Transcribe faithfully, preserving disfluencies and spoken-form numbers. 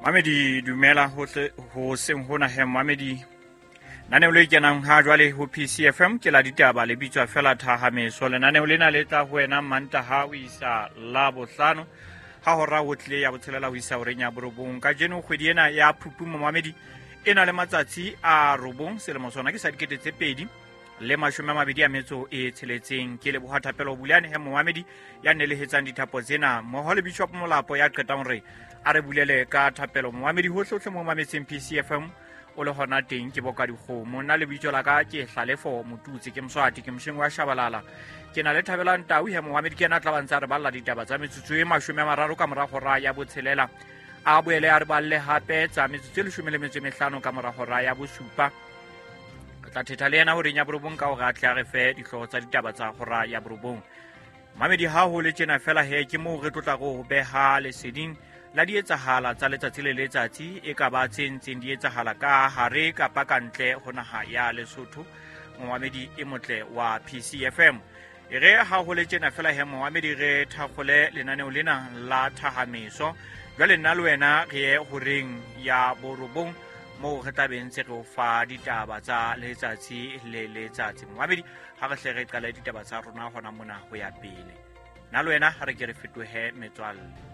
Mamedi dumela hohle ho seng hona he Mamedi. Lenaneo le kenang ha jwale ho P C F M ke la ditaba le bitswa fela Thahameso. Lenaneo lena le tla ho wena Mantaha ho isa Labohlano ha hora ho tlile ya botshelela ho isa horeng ya borobong. Kajeno kgwedi ena ya Phupu Mamedi e na le matsatsi a robong, selemo sona ke sa dikete tse pedi le mashome a mabedi a metso e tsheletseng. Ke leboha Thapelo Bulane he Momamedi ya nelehetsang dithapo tsena mmoho le Bishop Molapo ya qetang hore a re bulele ka thapelo. Momamedi hohle hohle mo mametseng P C F M o le hona teng ke boka dikgomo. Nna lebitso la ka ke Hlalefo Motutsi, ke Moswati, ke mosheng wa Shabalala. Ke na le Thabelang Tau he Momamedi, ke yena a tla ba ntse a re balla ditaba tsa metsotso e mashome a mararo ka mora hora ya botshelela. A boele a re balle hape tsa metsotso e leshome le metso e mehlano ka mora hora ya bosupa. Re tla thetha le yena horeng ya borobong ka hore a tle a re fe dihlooho tsa ditaba tsa hora ya borobong. Mamedi ha ho le tjena fela he ke moo re tlotla go beha leseding la di etsahala tsa letsatsi le letsatsi, e ka ba tse ntseng di etsahala ka hare kapa ka ntle ho naha ya Lesotho. Momamedi e motle wa P C F M. E re ha ho le tjena fela he momamedi re thakgole lenaneo lena la Thahameso. Jwale nna le wena re ye horeng ya borobong moo re tla beng ntse re o fa ditaba tsa letsatsi le letsatsi. Momamedi ha re hle re qale ditaba tsa rona hona mona ho ya pele. Nna le wena ha re ke re fetohe metswalle.